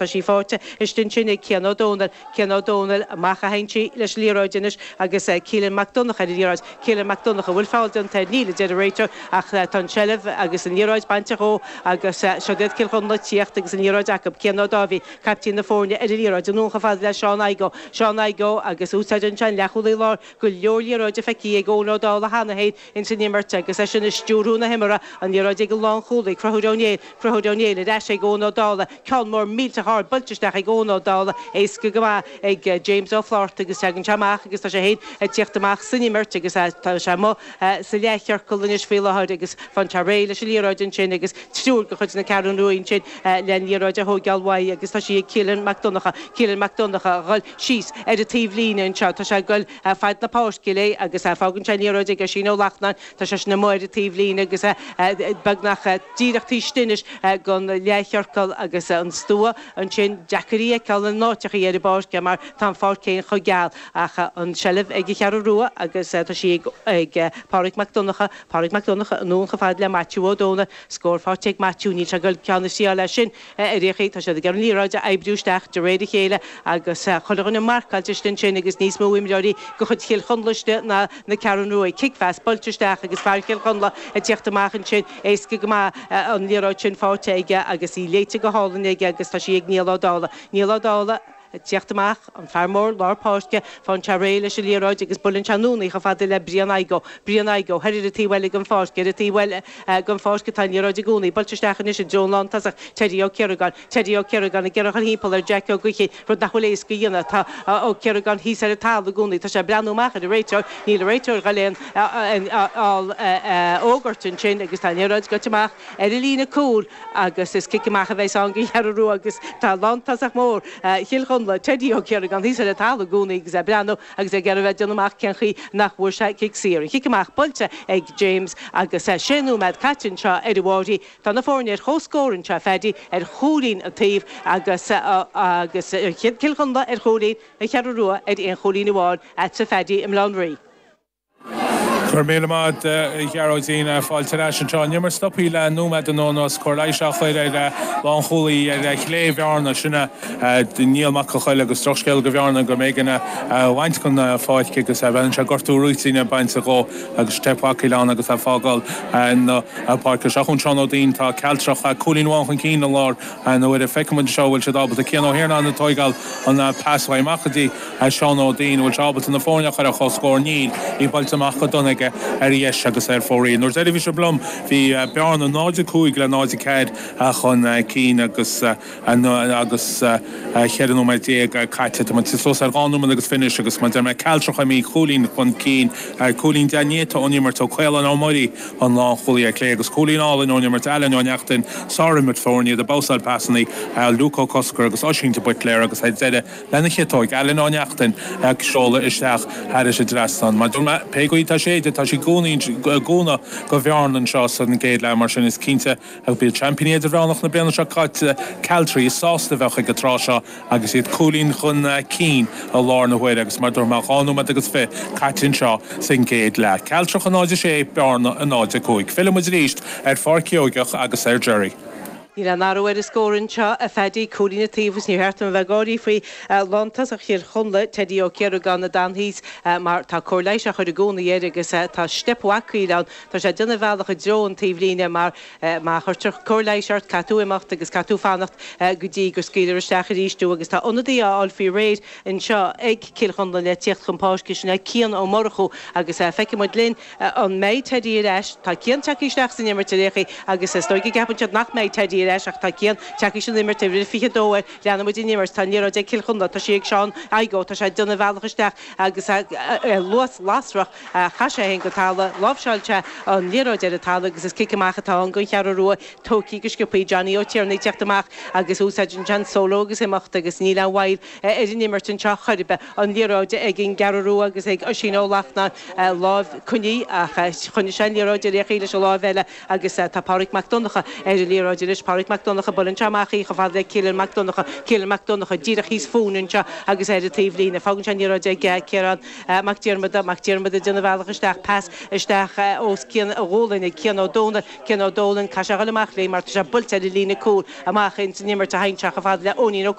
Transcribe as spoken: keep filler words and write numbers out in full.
Tá sí faighte istigh ansin ag Cian Ó Dónaill, Cian Ó Dónaill amach a théann sí leis an liathróid anois agus Keelan Mac Donncha ar an liathróid. Keelan Mac Donncha, bhfuil feall déanta air? Níl, a deir an réiteoir, ach tá an tseilbh agus an liathróid bainte dhó agus seo iad Cill Chonla ag tíocht agus an liathróid acu. Cian Ó Dáibhí, caiptín na foirne, ar an liathróid anonn chomh fada le Seán Igoe. Seán Igoe agus úsáideann sé an leathchúlaí láir go leor liathróide feicthe ag Eoin Ó Dálaigh cheana féin ins an imirt agus eisean ag stiúrú na himeartha, an liathróid ag an lánchúlaí, Conchúr Ó Néill, Conchúr Ó Néill ar ais ag Eoin Ó Dálaigh, ceann mór millteach ard buailte isteach ag Eoin Ó Dálaigh, éasca go maith ag James Ó Flátharta agus tagann sé amach agus tá sé féin ag tíocht amach san imirt agus tá sé amuigh sa leathchiorcal anois faoi láthair agus faigheann sé réidh leis an liathróid ansin agus triúr de chuid na Ceathrún Rua ansin le an liathróid a thóigeáil uaidh agus tá sí ag Keelan Mac Donncha, Keelan Mac Donncha a dhul síos ar an taobh líne anseo, tá sé ag dul fad na páirce léi agus fágann sé an liathróid ag Oisín Ó Lachtnáin, tá seisean amuigh ar an taobh líne agus beagnach díreach taobh istigh anois den leathchiorcal agus an stua ansin deacair í a fheiceáil in áiteachaí ar an bpáirc mar tá an pháirc féin chomh geal ach an tseilbh ag an Cheathrú Rua agus tá sí ag Pádraig Mac Donncha, Pádraig Mac Donncha anonn chomh fada le Maitiú Ó Dónaill, scór faighte ag Maitiú, níl sé ag dul ceann a thriáil as sin ar aon chaoi, tá siad ag iarraidh an liathróid a oibriú isteach de réir a chéile agus chuile dhuine marcáilte istigh ansin agus níos mó imreoirí de chuid Chill Chonla istigh ná na Ceathrún Rua. Cic-phas buailte isteach agus fear Chill Chonla ag tíocht amach ansin, éasca go maith an liathróid sin faighte aige agus í léite go hálainn aige agus tá sí ag Niall Ó Dálaigh. Niall Ó Dálaigh ag tíocht amach, an fear mór lár páirce, faigheann sé réidh leis an liathróid agus buaileann sé anonn í chomh fada le Brian Igoe. Brian Igoe, thoir ar an taobh eile den pháirc, ar an taobh eile den pháirc atá an liathróid i gcónaí, buailte isteach anois i dtreo an lántosach, Teddy Ó Ciaragáin. Teddy Ó Ciaragáin ag iarraidh a dhul thimpeall ar Jack Ó Gaoithín, rud nach bhfuil éasca a dhéanamh. Tá Ó Ciaragáin thíos ar an talamh i gcónaí. Tá sé ag breathnú amach ar an réiteoir. Níl an réiteoir ag dul aon fhógairt ansin agus tá an liathróid gaibhte amach ar an líne cúil agus is cic amach a bheas ann don Cheathrú Rua agus tá lántosach mór Chill Chonla, Teddy Ó Ciaragáin, thíos ar an talamh i gcónaí agus é ag breathnú agus ag iarraidh a bheith ag déanamh amach cén chaoi nach bhfuair sé cic saor. An chic amach buailte ag James agus sé nóiméad caite anseo ar an bhFáirí. Tá na foirne ar comhscór anseo, a Phaddy, ar chúilín an taobh agus agus Cill Chonla ar chúilín, an Cheathrú Rua ar aon chúilín amháin, agatsa a Phaddy i mBaile Átha an Rí. Go raibh míle maith agat a Ghearóidín. Fáilte ar ais anseo. An imirt stoptha le nóiméad anuas, cóir leighis á chur ar lánchúlaí ar chlé Bhearna, sin é Niall Mac an Choill agus drochscéal do Bhearna go mb'éigean é a bhaint den pháirc agus bheadh sé gortú réitíne bainte dhó agus steip bhacaíl ann agus é ag fágáil na páirce. Seo chugainn Seán Ó Duinn, tá Cealtrach cúilín amháin chun cinn i lár na huaire. Feicfidh muid anseo an bhfuil siad ábalta Cian Ó hIarnáin ag tóigeáil an pas uaidh amach go dtí Seán Ó Duinn, an bhfuil sé ábalta na foirne a chur ar comhscór? Níl, í buailte amach go dona aige ar dheis agus ar fóraoil. Nuair deireadh bhí sé liom bhí Bearna náid a cúig le náid a ceathair chun cinn agus agus cheithre nóiméad déag caite. Tá muid suas ar dhá nóiméad agus fiche anois agus mar deir mé Cealtrach imithe cúilín chun cinn, cúilín dea-néata ón imirt ó Caolán Ó Muirí an lánchúlaí ar clé agus cúilín álainn ón imirt Alan Ó Neachtain, sárimirt foirne iad ag babhsáil pasanna Luke Ó Cosgair agus Oisín de Buitléar agus ar deireadh lena chiotóig Alan Ó Neachtain ag seoladh isteach thairis an dtrasnán. Mar dúirt mé, pé chaoi atá séidte, tá sí i gcónaí i gcúnamh do Bhearna anseo san gcéad leath, mar sin is cinnte go bhfuil seaimpíní idirmheánach na bliana seo caite, Cealtraí, sásta a bheadh ag an tráth seo agus iad cúilín chun cinn i lár na huaire agus mar dúirt mé, dhá nóiméad agus fiche caite anseo san gcéad leath. Cealtrach a náid a sé, Bearna a náid a cúig. Fillfidh muid arís ar Pháirc Sheoigeach agus ar Jerry. Níl aon athrú ar an scór anseo, a Phaddy, cúilín an taobh agus níor cheart dom a bheith ag gáirí faoi lántosach Chill Chonla, Teddy Ó Ciaragáin, a d'fhan thíos mar tá cóir leighis á chur i gcónaí air agus tá steip bhacaíl ann. Tá sé ag déanamh a bhealach i dtreo an taobhlíne mar má chuirtear cóir leighis ort caithfidh tú imeacht agus caithfidh tú fanacht go dtí go scaoilfear isteach arís tú agus tá ionadaí á fháil faoi réir anseo ag Cill Chonla le tíocht chun páirce, sin é Cian Ó Murchú agus feicfidh muid linn an mbeidh Teddy ar ais. Tá Cian tagtha isteach san imirt ar aon chaoi agus is dóigh go gceapann siad nach mbeidh Teddy ar ais ach tá Cian tagtha san imirt, uimhir fiche a dó air. Leanfaidh muid an imirt. Tá an liathróid ag Cill Chonla. Tá sí ag Seán Igoe. Tá sé ag déanamh a bhealach isteach agus luas lasrach. Chaith sé féin go talamh. Láimhseáil sé an liathróid ar an talamh agus is cic amach atá ann don Cheathrú Rua. Tógtha go sciobtha. Johnny Ó Tiarnaigh ag teacht amach agus úsáideann sé an solo agus imeacht agus níl aon mhoill ar an imirt anseo chor ar bith. An liathróid ag an gCeathrú Rua agus ag Oisín Ó Lachtnáin. Lámh coinnithe ach choinnigh sé an liathróid ar aon chaoi leis an láimh eile agus tá Pádraig Mac Donncha ar an liathróid anois. Pádraig Mac Donncha buaileann sé amach í chomh fada le Cillian Mac Donncha Cillian Mac Donncha díreach thíos fúinn anseo agus ar an taobhlíne fágann sé an liathróid ag Ciarán Mac Diarmada Mac Diarmada ag déanamh a bhealach isteach pas isteach os cionn a ghualainne Cian Ó Dónaill Cian Ó Dónaill caithfidh sé a dhul amach léi mar tá sé buailte ar an líne cúil amach ins an imirt a thagann sé chomh fada le Eoinín Ó